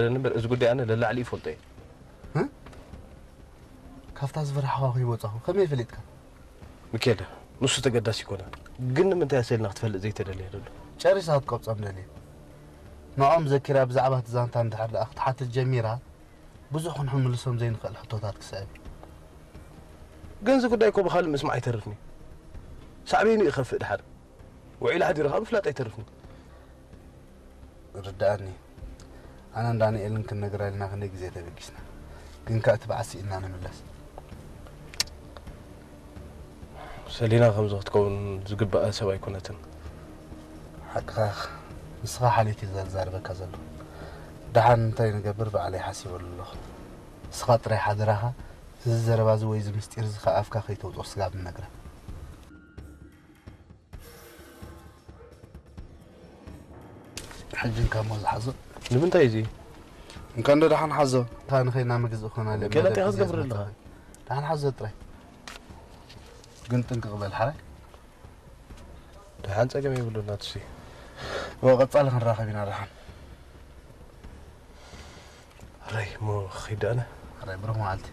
እምበር እዚ ጉዳይ ኣነ ለላዕሊ ይፈልጦ እየ። እ? ካብታ ዝፈራሕኻ ከይወጻኹ ከመይ ፈሊጥካ? ሚካኤል፣ ንሱ ተገዳሲ ይኮነ፣ ግን ንምንታይ ኣሰልና ክትፈልጥ ዘይተደለየ ዘሎ? ጨሪሳ ክትቆብጾም ደልየ። ንዖም ዘኪራ ብዛዕባ እቲ ዛንታ እንድሕር ደኣ ክትሓትት ጀሚራ፣ ብዙሕ ክንሕምልሶም ዘይንኽእል ሕቶታት ክስዕብ። ግን እዚ ጉዳይ እኮ ብኻልእ ምስማዕ ኣይተርፍኒ። ሳዕቤኑ ይኸፍእ ድሓር። ውዒል ሓዲሩ ከዓ ምፍላጥ ኣይተርፍኒ። ርድኣኒ። ኣነን ዳንኤልን ክንነግራ ኢልና ክንደይ ግዜ ተበጊስና። ግን ከኣ እቲ በዓል ስኢንና ንምለስ። ሰሊና ከምዚ ክትከውን ዝግባኣ ሰብ ኣይኮነትን። ሓቅኻ ኢኻ። ንስኻ ሓልዮት እዩ ዘዛርበካ ዘሎ። ደሓን እንታይ ንገብር ባዕለይ ሓሲበሉ ኣለኹ። ንስኻ ጥራይ ሓደራኻ እዚ ዘረባ እዚ ወይ እዚ ምስጢር እዚ ካብ ኣፍካ ከይተውፅኦ ስጋብ ንነግራ። ሕጂ እንካ እሞ ዝሓዞ። ንምንታይ እዚ? እንካ እንዶ ደሓን ሓዞ። እንታ ንኸይና ምግዝእ ኾና ገለ እንታይ ክትገብር ኣለኻ? ደሓን ሓዞ ጥራይ። ግን ጥንቅቕ በል ሓራይ። ደሓን ጸገም የብሉን ናትሲ። ወቐጻሊ ክንራኸብ ኢና ደሓን። ሕራይ እሞ ክኸይድ ኣነ። ሓራይ ብሩኽ መዓልቲ።